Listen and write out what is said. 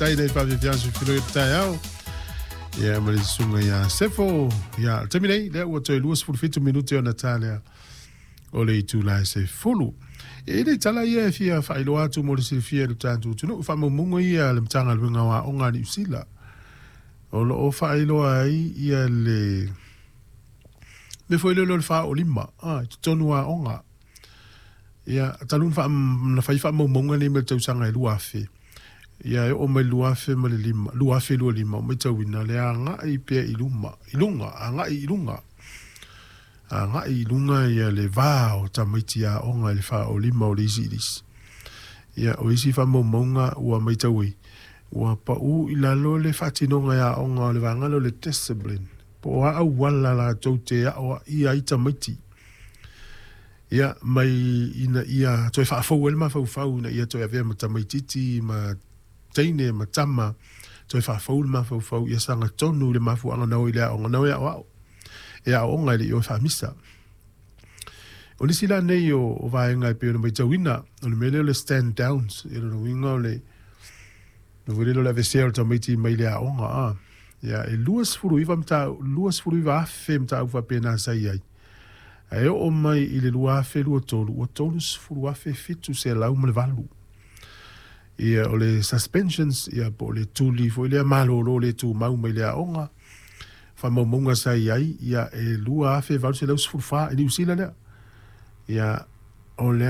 Faafetai i nai faafiafiaga soifiloi o le taeao. Ia ma le susuga ia Sefo. Ia, o le taimi nei, lea ua toe 27 minute ona ta lea o le itula e 10. E i ai tala ia e fia faailoa atu mo le silafia e lo tatou atunuu, faamaumauga ia a le Matagaluega o Aoga a Niu Sila o lo o faailoa ai ia le mea foi lele o le faaolima i totonu o aoga. Ia, talu ona fai faamaumauga nei mai le tausaga e 2000, ia e oo mai le 2005, 2025, ua matauina le agai pea i luma, i luga, agai i luga. Agai i luga ia le va o tamaiti aoga i le faaolima o le isi i le isi. Ia, o isi faamaumauga ua matau ai, ua pau i lalo le faatinoga e aoga o le vaega lea o le discipline, po o a auala latou te aoaia ai tamaiti. Ia, mai ina ia toe faafou ai le mafaufau ina ia toe avea ma tamaitiiti ma teine ma tama, toe faafou le mafaufau ia sagatonu i le mafuaaga na o i le aoga, na o e aoao, e aooga e le i o e faamisa. O nisi la nei o vaega e pei ona matauina, o le mea lea o le stand downs, ia lona uiga o le foi lele o le aveesea o le tamaiti mai le aoga. A. Ia, e 29 29,000 mataupu faapena sa i ai. Ae oo mai i le 2023, ua 30,708. Ia, o le suspensions, ia, po o le tuli foi lea malolo le tumau mai le aoga, faamaumauga sa i ai, ia, e 2,814 i Niu Sila lea. Ia, o le